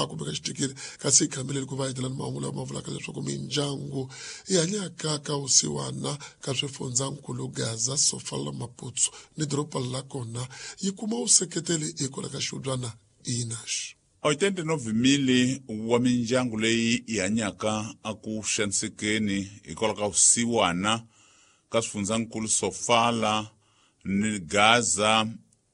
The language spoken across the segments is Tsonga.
Kumbe ka xitikiri kasi hi khambileli ku va hetelani mahungu lama vulaka leswaku mindyangu yi hanyaka ka vusiwana ka swifundzankulu Gaza, Sofala, Maputsu ni doroba la kona yi kuma vuseketeli hikwalaho ka xihubyana Inax. 89 000 wa mindyangu leyi yi hanyaka aku xanisekeni hikwalaho ka vusiwana ka swifundzankulu Sofala ni Gaza,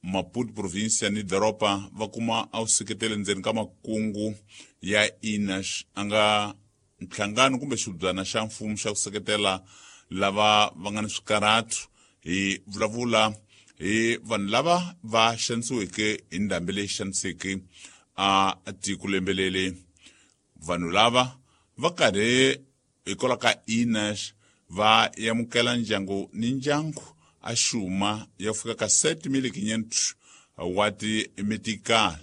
Maputo provincia ni doroba va kuma a vuseketeli ndzeni ka makungu ya Inax, a nga nhlangano kumbe xibyana xa mfumo xa ku seketela lava va nga ni swikarhatu. Hi vulavula hi vanhu lava va xanisiweke hi ndhambi leyi xaniseke a tiko lembelele. Vanhu lava va karhi hikwalaho ka Inax va amukela ndyangu ni ndyangu a xuma ya fika ka 7500 wa timetical,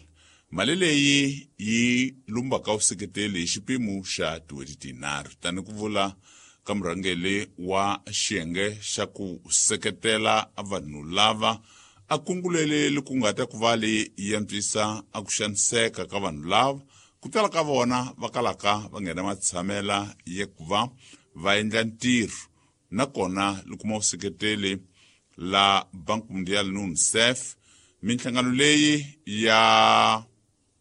mali leyi yi lumbaka vuseketeli hi xipimo xa tin'hweti tinharhu, tani ku vula ka murhangeli wa xiyenge xa ku seketela vanhu lava. A kungulele ku nga ta ku va leyi antswisa a ku xaniseka ka vanhu lava ku tala ka vona va kalaka va nghena matshamela ya ku va va endla ntirho, nakona li kuma vuseketeli la Bank Mundial ni UNICEF. Minhlangano leyi ya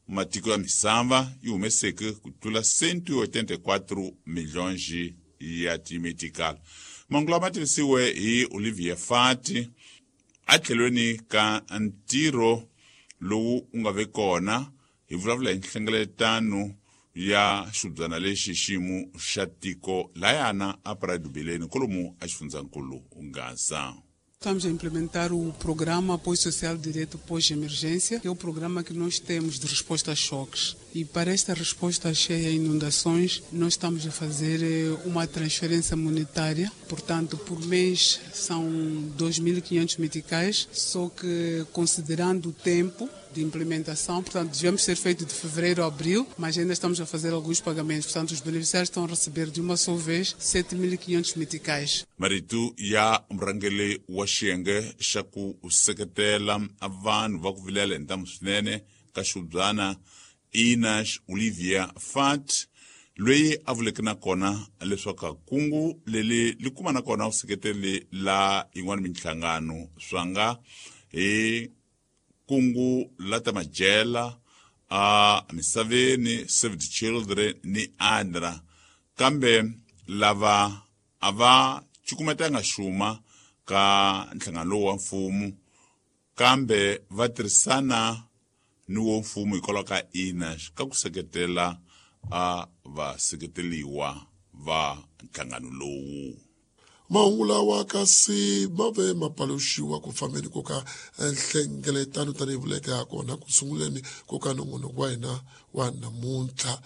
matiko ya misava yi humeseke ku tlula 184 milhões ya timetical. Mahungu lama tivisiwe hi Olivier Fati atlhelweni ka ntirho lowu wu nga ve kona. Hi vulavula hi nhlengeletano ya xibyana lexi xiyimo xa tiko layana a Praia kolomu a xifundzankulu Gaza. Estamos a implementar o programa Apoio Social Direto Pós-Emergência, que é o programa que nós temos de resposta a choques. E para esta resposta a cheia e inundações, nós estamos a fazer uma transferência monetária. Portanto, por mês são 2.500 meticais, só que considerando o tempo de implementação, portanto, devemos ser feito de fevereiro a abril, mas ainda estamos a fazer alguns pagamentos. Portanto, os beneficiários estão a receber de uma só vez 7.500 meticais. Marito ya murhangeri wa xiyenge xa ku seketela vanhu va ku vilela hi ntamu swinene ka xibyana Inax, Olivia Fat, loyi a vuleke na kona leswaku kungu leli li kuma na kona vuseketeli la yin'wana minhlangano swa nga hi kungu la ta majela a misaveni, Save the Children ni ADRA, kambe lava a va cukumetanga xuma ka nhlangano lowu wa mfumo, kambe va tirhisana ni wo mfumo hikwalaho ka Inax ka ku seketela a vaseketeliwa va nhlangano lowu. Mahungu lawa kasi ma ve ma paluxiwa ku fambeni ko ka nhlengeletano, tanihi vuleke ha kona ku sunguleni ko ka nongonoko wa hina wa namuntlha.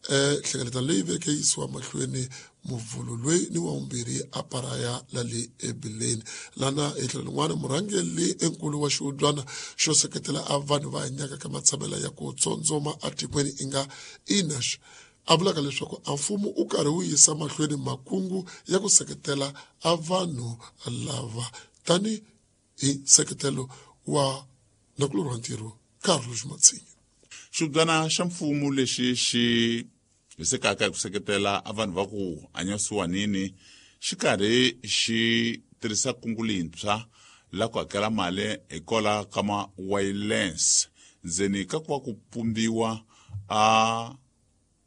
Nhlengeletano leyi veke yisiwa mahlweni Muvhulu loyi ni wa vumbirhi a Paraya la le eBileni, lana hi tlhelo rin'wana murhangeri enkulu wa xihubyana xo seketela a vanhu va hanyaka ka matshamela ya ku tsondzoma atikweni i nga Inax a vulaka leswaku a mfumo u karhi wu yisa mahlweni makungu ya ku seketela a vanhu lava, tani hi nseketelo wa nakulorhi wa ntirho Carlos Matsinha. Xibyana xa mfumo lexi xi hisekaka hi ku seketela a vanhu va ku hanya vusiwanini xi karhi xi tirhisa kungu leyintshwa la ku hakela mali hikwalaho ka ma-wireless ndzeni ka ku va ku pumbiwa a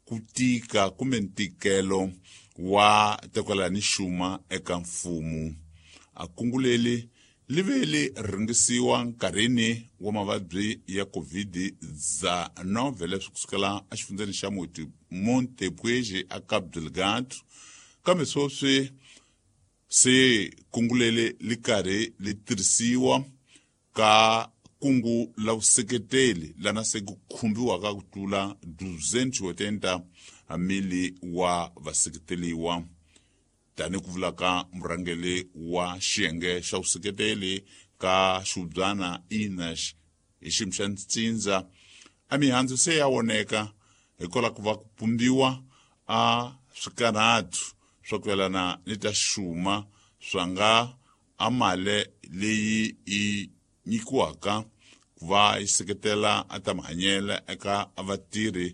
ku tika kumbe ntikelo wa tekwela ni xuma eka mfumo. A kungu leri li ve li rhangisiwa nkarhini wa mavabyi ya COVID-19 leswi kusukela exifundzeni xa Montepuez a Cabo Delgado, kambe sweswi se kungu leri li karhi li tirhisiwa ka kungu la vuseketeli lana se ku khumbiwaka ku tlula 280 mili wa vaseketeliwa, tani ku vulaka murhangeri wa xiyenge xa vuseketeli ka xihubyana Inax hi xiyimo xa ntsindza. A mihandzu se ya voneka hikwalaho ku va ku pumbiwa a swikarhatu swa ku yelana ni ta xuma swa nga a mali leyi yi nyikiwaka ku va yi seketela a ta mahanyelo eka vatirhi.